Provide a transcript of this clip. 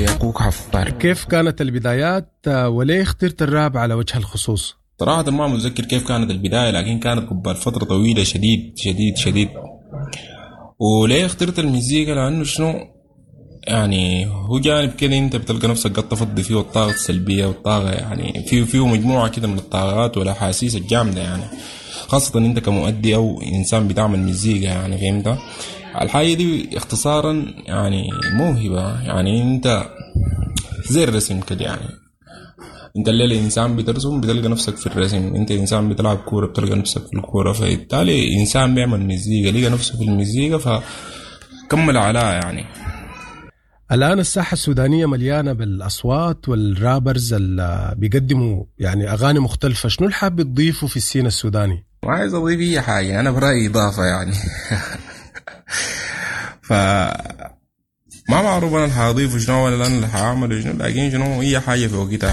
ياكوك حفار. كيف كانت البدايات وليه اخترت الراب على وجه الخصوص؟ صراحة ما متذكر كيف كانت البداية، لكن كانت قبل فترة طويلة شديد شديد شديد. وليه اخترت المزيكا؟ لأنه شنو يعني هو جانب كده انت بتلقى نفسك قد تفضي فيه الطاقة السلبية والطاقة، يعني فيه مجموعة كده من الطاقات والأحاسيس الجامدة، يعني خاصة انت كمؤدي او انسان بتعمل مزيكا، يعني فهمت الحاجة دي اختصارا يعني موهبة، يعني انت زي الرسم كده، يعني انت الليلة انسان بترسم بتلقى نفسك في الرسم، انت انسان بتلعب كورة بتلقى نفسك في الكورة، فبالتالي انسان بيعمل مزيكا لقى نفسه في المزيكا فكمل عليها يعني. الآن الساحة السودانية مليانة بالأصوات وال rappers اللي بيقدموا يعني أغاني مختلفة، شنو اللي حابب تضيفه في ال scene السوداني؟ ما عايز أضيف أي حاجة، أنا برأيي إضافة يعني. ف ما معروف أنا اللي حاضيفه شنو ولا أنا اللي حاعمله شنو، لكن شنو أي حاجة في وقتها.